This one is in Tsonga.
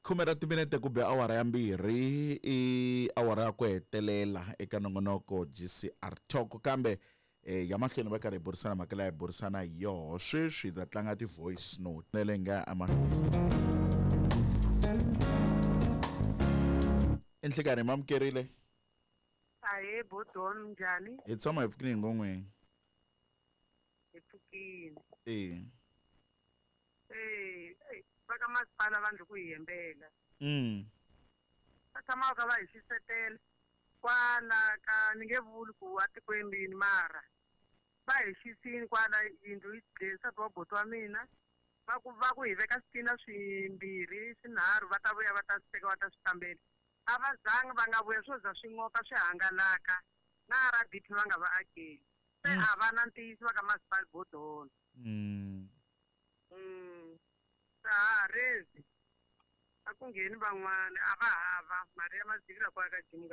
Khume ra timinete ku be awara ya mbirhi i awara ya ku hetelela eka nongonoko GCR Talk kambe eh, ya mahlweni va karhi hi burisana mhaka leyi hi burisana hi yoho sweswi hi ta tlanga ti-voice note nele nga ama enhlekanhi mamukerile. Ahee bodon, njhani? Hi tshama hi pfukile hi ngon'weni. Hi pfukile. E. Eh, eh, va ka masipala va ndzi ku hi hembela. Va tshama va kha va hi xisetela kwala ka ni nge vuli ku a tikweni rini mara va hi xisini kwala yindlu yi dle nsati wa buti wa mina va ku va ku hi veka switina swimbirhi swinharhu va ta vuya va ta swi teka va ta swi kambela a va zangi va nga vuya swo za swi n'oka swi hangalaka na RDP va nga va akeli se a va na ntiyiso va ka masipala bodolo. Se ha rezi a ku ngheni van'wana a va hava mali ya mazivila kwala ka Jim.